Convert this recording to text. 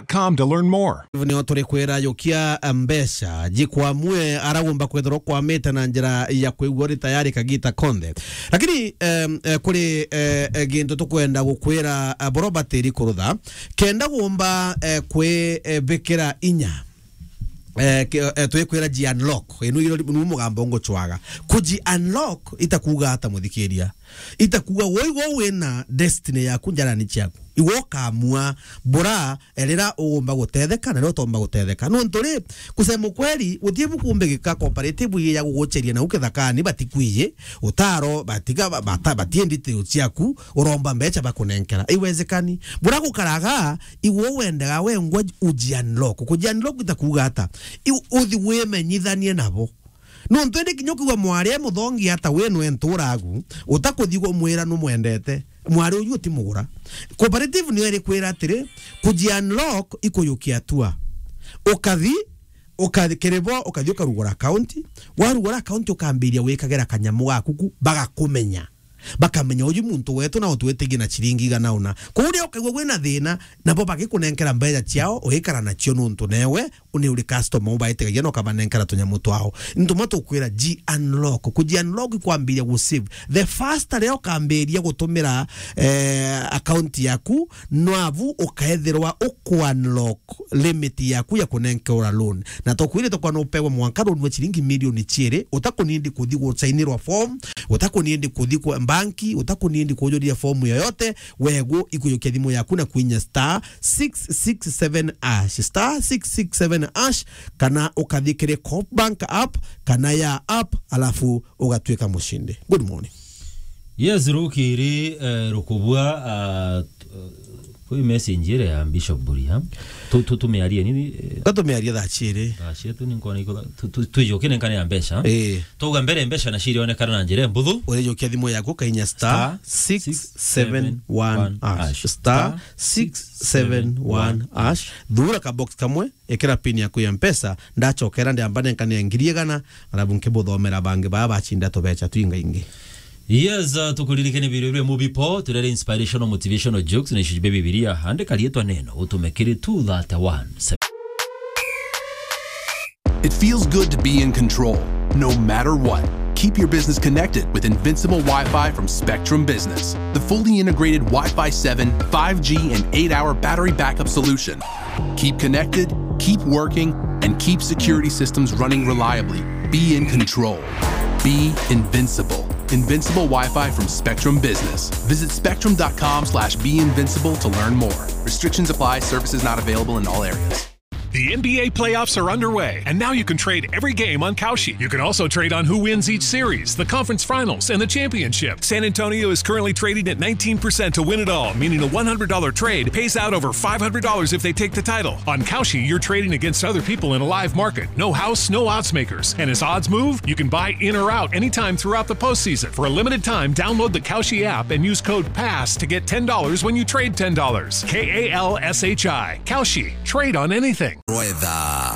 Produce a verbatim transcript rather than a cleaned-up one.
com to learn more. Nio turi kwira yukia mbeca jikwamue aragomba kwethirwa kwamite na njira ya kwigua uri tayari kagita konthe. Lakini, em, eh, kuri, eh, eh, gintu tukwenda gukwira, eh, boro batiri kurutha, kenda gomba, eh, kwi, eh, bikira inya. Eh, ki-, eh, twikwira ji unlock. Inu iro ni mugambo nguchwaga. Kuji unlock itakuga ata, muthikiria? Itakuga woigwo wina destiny yaku njarani ciaku. Iwe ukamua bura, eh, rira ugomba gutetheka na rira utomba gutetheka. Nontu ri, kusema ukweli, gutie bukumbigika cooperative ii ya gugucheria nau kithakani, batikwiyi utaro, batiga, ba-, bata-, batie details ciaku, uromba mbecha bakunenkera. Iwezekani. Bura gukaraga, iwe wendaga wengwa uji unlock. Kuji unlock itakuga ata? Iu uthi wimenyithanie nabo. Nontu indi kinya ukiigua mwari e muthongi ata, we nwe nturagu, utakuthi kumwira numwendete. Mwari uyu utimugura. Cooperative niyo irikwira atiri, kuji unlock ikuyukia atua. Ukathi, ukathi kiri bo, ukathi ukarugura account. Warugura account ukambiria gwikagira kanyamu gaku ku, bagakumenya. Bakamenya uju muntu wetu na utwitigie na chiringi igana una. Kuu rio ukaigua gwina thina, nabo bagikunenkera mbeca ciao, ugikara nacio nontu newe uni uri customer, ubaitigagia na ukabanenkera tunyamu twao. Ni tumwe tukwira ji unlock. Kuji unlock ikwambiria gu save. The faster rio ukambiria gutumira, eh, account yaku, nwabu ukaethirwa uku unlock limit yaku ya kunenkera loan. Na tukwire tukwa nupewe mwanka loan wa chiringi milioni chiiri, utakunindi kuthi gusainirwa form, utakunindi kuthi kwa banki, utakunindi kujuria form yoyote, wegu ikujukia thimu yaku na kuinya star six six seven hash, star six six seven hash, kana ukathi kiri Coop Bank app, kana ya app, alafu ugatuika mushindi. Good morning. Yes, rukiri, eh, rukubua, ah, t-, eh, kwi message ire ya Bishop Buria. Tu-, tu-, tumiarie nini, eh? Ka tumiarie thaa chiiri. Thaa chiiri tu ni nkona iko, tu-, tu-, tuijukie nenkane ya mbeca. Eh. Tuga mbere mbeca na ciiri onekana na njira mbuthu. Urijukia thimu yaku kainya star six seven one hash. Star six seven one hash. Thura ka box kamwe, ikira pin yaku ya mpesa, ndachokera ndiamba nenkane ya ngiri igana, arabu nkibuthomera bangi baa bachinda tubecha twingaingi. Yes, uh, tukuririkane biro bire mubipo, turere inspirational motivational jokes na ishujube Bibilia, andika rietwa neno, utume kiri two thirty-one. It feels good to be in control, no matter what. Keep your business connected with Invincible Wi-Fi from Spectrum Business, the fully integrated Wi-Fi seven, five G, and eight-hour battery backup solution. Keep connected, keep working, and keep security systems running reliably. Be in control. Be invincible. Invincible Wi-Fi from Spectrum Business. Visit spectrum dot com slash be invincible to learn more. Restrictions apply. Services not available in all areas. The N B A playoffs are underway, and now you can trade every game on Kalshi. You can also trade on who wins each series, the conference finals, and the championship. San Antonio is currently trading at nineteen percent to win it all, meaning a one hundred dollar trade pays out over five hundred dollars if they take the title. On Kalshi, you're trading against other people in a live market. No house, no odds makers. And as odds move, you can buy in or out anytime throughout the postseason. For a limited time, download the Kalshi app and use code pass to get ten dollars when you trade ten dollars. K A L S H I. Kalshi. Trade on anything. Rwetha.